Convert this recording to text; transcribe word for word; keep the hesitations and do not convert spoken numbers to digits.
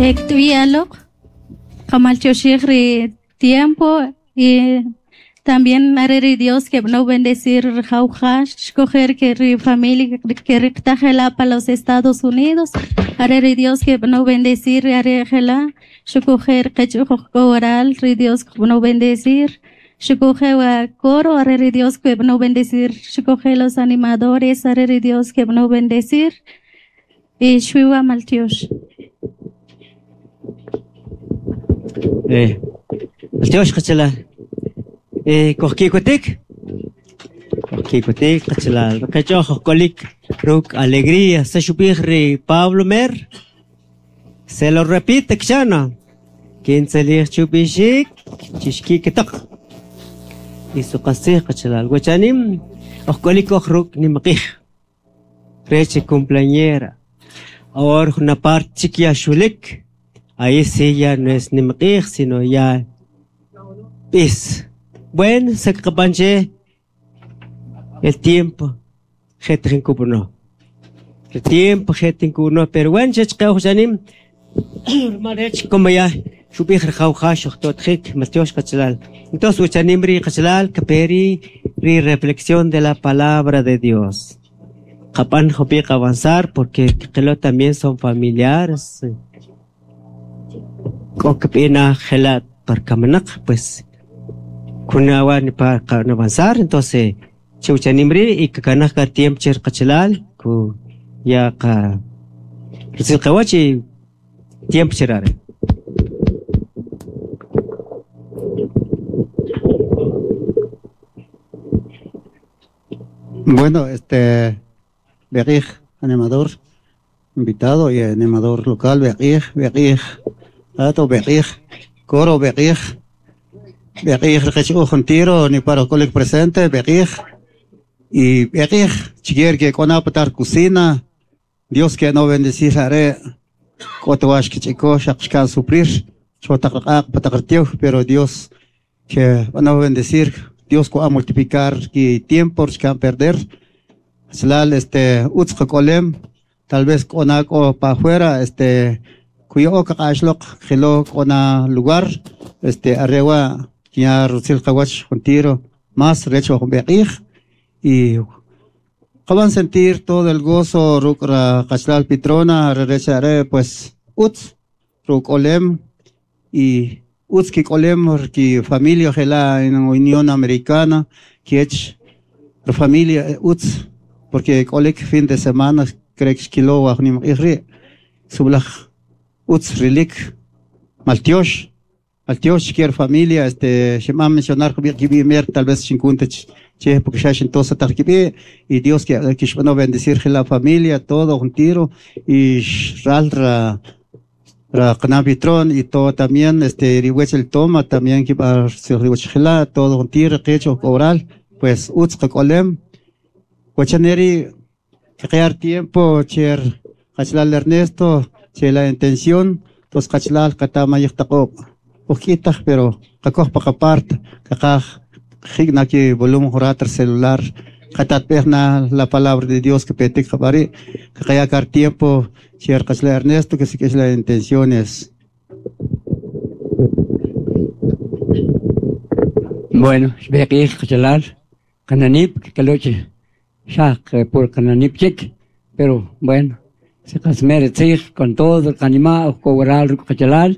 Ektuyalok, kamalchoshir tiempo y también areri Dios que no bendecir jauja, escoger que ri familia que riktajela para los Estados Unidos, areri Dios que no bendecir arejela, escoger que oral, ri Dios que no bendecir, escoger coro, areri Dios que no bendecir, escoger los animadores, areri Dios que no bendecir, y shuiwa maltiosh. Eh, maltiosh qachala. Eh, kojkikutik, kojkikutik qachala. Qachoj kolik ruk alegría. Se shubij ri Pablo Mer. Se lo repite kchana. Quince chubishik, chishkikitak. Y su qasij qachala. Guachanim, ojkolik ojruk nimaqij. Reche cumpleañera. Ahora una parte chiquia shulik. Ahí sí ya no es nimaqij, sino ya pis. Bueno, se capanche el tiempo, no. El tiempo, no, pero bueno, como ya, entonces, ri reflexión de la palabra de Dios. Kapan jopik avanzar porque que también son familiares. Kokpina gelat parkamanak, pues. Kunawan para avanzar, entonces chuchanimri y kakanaka tiempo cherkachalal ku ya ka kawachi tiempo cherare. Bueno, este Beqij, animador invitado y animador local, Beqij, Beqij, Ato Beqij, Coro Beqij. Beqij rqech tiro ni para kolik presente beqij y beqij chiquier que con apatar cocina Dios que no bendecir are kotwash que chico shaqshkan suplir chotaqaq pataqrtiw pero Dios que van a bendecir Dios ko a multiplicar que tiempo shkan perder slal este utzqolem tal vez konako pa afuera este cuyo qaqashlok khilo kona lugar este arrewa ya rutzil qawach tiro más recho beqij y qaban sentir todo el gozo rukra qachlal pitrona rechare pues utz rukolem y utz ki kolem ki familia gela en Unión Americana kiech familia utz porque kolek fin de semana creo que kilo wa nim iri sublaj utz rilik maltiosh maltiosh kier familia este se me mencionar que mer tal vez cincuenta che porque ya entonces tarkibi y Dios que que bueno bendecir la familia todo un tiro y ralra ra qnabitron y todo también este riwech el toma también que va se riwech todo un tiro que hecho oral pues utz qolem wachaneri crear tiempo cher qachlal Ernesto che la intención tos qachlal qatama yiqtaqob poquita pero qakoj paqapart qaqaj jigna ki volumen jorater celular qatatpejna la palabra de Dios que petik qabari qaqayakar tiempo cher qachlal Ernesto que sí que es la intenciones. Bueno, beqij qachlal qananip kaloche shaq por qananip chik pero bueno se qasmer tzij con todo el qanima o cobrar qachlal